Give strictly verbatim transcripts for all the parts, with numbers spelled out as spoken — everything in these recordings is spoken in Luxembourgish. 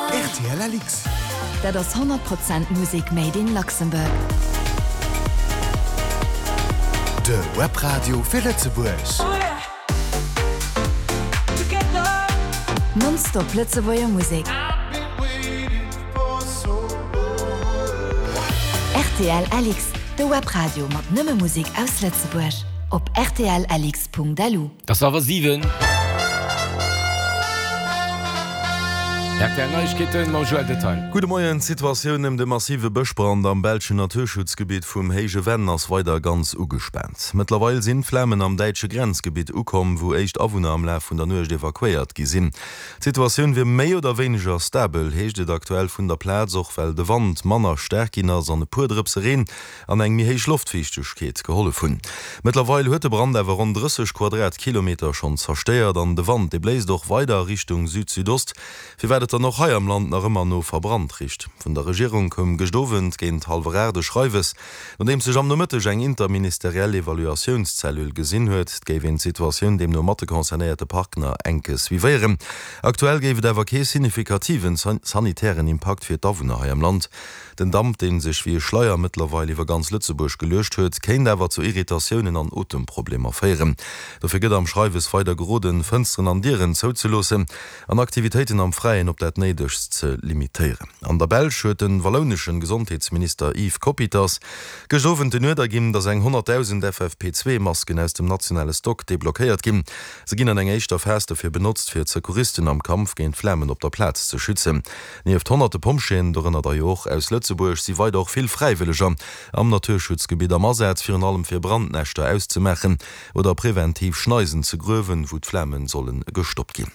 R T L L X. Dat ass honnert Prozent Musek made in Luxembourg. De Webradio fir Lëtzebuerg. Nonstop Lëtzebuerger Musek. R T L L X, de Webradio mat nëmme Musek aus Lëtzebuerg. Op R T L L X punkt L U. Et ass hallwer siwen. R T L Neiegkeeten mam Joël Detail. Gudde Moien, D'Situatioun ëm de massive Bëschbrand am belschen Naturschutzgebitt vum Héije Venn ass weider ganz ugespaant. Mëttlerweil sinn d'Flamen am däitsche Grenzgebitt ukomm, wou éischt Awunner am Laf vun der Nuecht evakuéiert gi sinn. D'Situatioun wier méi oder wéineger stabel, heescht et aktuell vun der Plaz, och well de Wand manner staark ginn ass an e puer Drëpse Reen an eng méi héich Loftfiichtegkeet gehollef hunn. Mëttlerweil huet de Brand awer ronn drësseg Quadratkilometer schonn zerstéiert an de Wand, dee bléist och weider a Richtung Süd-Südost, firwat et dann och hei am Land nach ëmmer no verbrannt richt. Vun der Regierung koum gëscht Owend géint hallwer aacht e Schreiwes, nodeems sech am Nomëtteg eng interministeriell Evaluatiounscellule gesinn huet. Et géif een d'Situatioun deemno mat de concernéierte Partner enk suivéieren. Aktuell géif et awer kee signifikativen sanitären Impakt fir d'Awunner hei am Land. Den Damp, dee sech wéi e Schleier mëttlerweil iwwer ganz Lëtzebuerg geluecht huet, kéint awer zu Irritatiounen an Otemproblemer féieren. Dofir gëtt am Schreiwes weider geroden, Fënsteren an Dieren zouzeloossen an Aktivitéiten am Fräien op dat Néidegst ze limitéieren. An der Belsch huet de wallouneschen Gesondheetsminister Yves Coppieters gëscht Owend den Uerder ginn, datt eng honnertdausend F F P zwee Masken aus dem nationale Stock deblockéiert ginn. Se ginn an enger éischter Phas dofir benotzt, fir d'Secouristen am Kampf géint d'Flamen op der Plaz ze schützen. Nieft honnerte Pompjeeën, dorënner der jo och aus Lëtzebuerg, si weider och vill Fräiwëlleger am Naturschutzgebitt am Asaz, virun allem fir Brandnäschter auszemaachen oder preventiv Schneisen ze gruewen, wou d'Flame solle gestoppt ginn.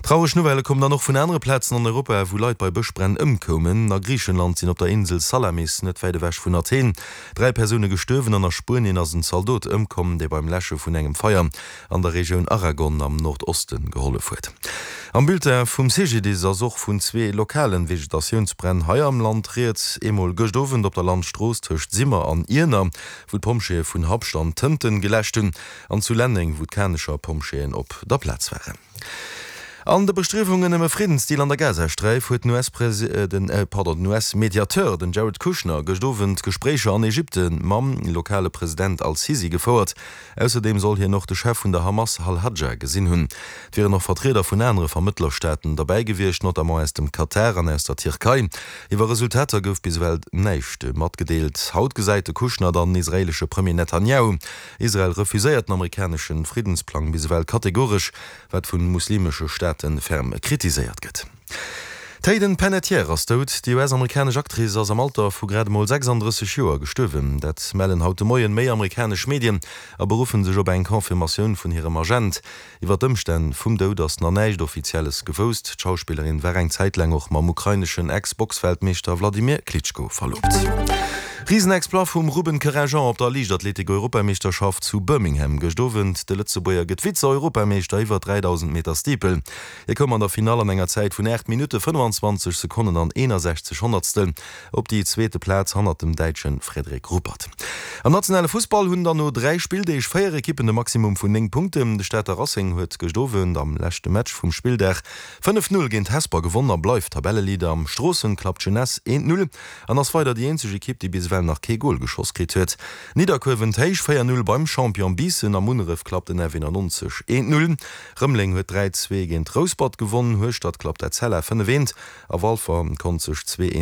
Traureg Nouvellë kommen dann och vun anere Plazen an Europa, wou Leit bei Bëschbränn ëmkoumen. A Griichenland sinn op der Insel Salamis, net wäit ewech vun Athen, dräi Persoune gestuerwen an a Spuenien ass en Zaldot ëmkomm, dee beim Läsche vun engem Feier an der Regioun Aragon am Nordoste gehollef huet. Am Bulletin vum C G D I S ass och vun zwee lokalen Vegetatiounsbränn hei am Land rieds. Eemol gëscht Owend op der Landstrooss tëscht Simmer an Iener, wou d'Pompjeeë vun Habscht an Tënten geläscht hunn, an zu Lenneng, wou d'Kanecher Pompjeeën op der Plaz waren. An de Bestriewungen ëm e Friddensdeal an der Gazasträif huet den U S-Mediateur, den Jared Kushner, gëscht Owend Gespréicher an Ägypten mam lokale President al-Sisi gefouert. Ausserdeem soll hien och de Chef vun der Hamas Al-Hajja gesinn hunn. Et wieren och Vertrieder vun anere Vermëttlerstaaten derbäi gewiescht, notamment aus dem Katar an aus der Tierkei. Iwwer Resultater gouf bis ewell näischt matgedeelt. Haut gesäit de Kushner dann den israeelesche Premier Netanjahu. Israel refuséiert den amerikanesche Friddensplang bis ewell kategoresch, wat vu muslimesche Staate ferm kritiséiert gëtt. D'Hayden Panettiere ass dout. Déi U S-amerikanesch Actrice ass am Alter vu grad emol sechsanddrësseg Joer gestuerwen. Dat mellen haut de Moien méi amerikanesch Medien a beruffe sech op eng Confirmatioun vun hirem Agent. Iwwer d'Ëmstänn vum Doud ass nach näischt Offizielles gewousst. D'Schauspillerin war eng Zäit laang och mam ukraineschen Ex-Boxweltmeeschter Wladimir Klitschko verloobt. Risenexploit vum Ruben Querinjean op der Liichtathletik-Europameeschterschaft zu Birmingham gëscht Owend. De Lëtzebuerger gëtt Vize-Europameeschter iwwer dräidausend Meter Steeple. Hie koum an der Finall an enger Zäit vun aacht Minutte, fënnefanzwanzeg Sekonnen an eenasechzeg Honnertstel op déi zweete Plaz hannert dem Däitsche Frederik Ruppert. Am nationale Fussball hunn dann no dräi Spilldeeg véier Ekippen de Maximum vun néng Punkten. De Stater Racing huet gëscht Owend am leschte Match vum Spilldag fënnef Null géint Hesper gewonn a bleift Tabelleleader. Am Stroossen klappt d'Jeunesse eent Null an ass weider déi eenzeg Ekipp, déi bis ewell nach kee Gol geschoss kritt huet. Nidderkuer wënnt héich véier Null beim Champion Biissen. A Munneref klappt den F eenannonzeg eent Null. Rëmeleng huet dräi zwee géint Rouspert gewonn. Hueschtert klappt Etzella fënnef eent a Walfer konnt sech zwee eent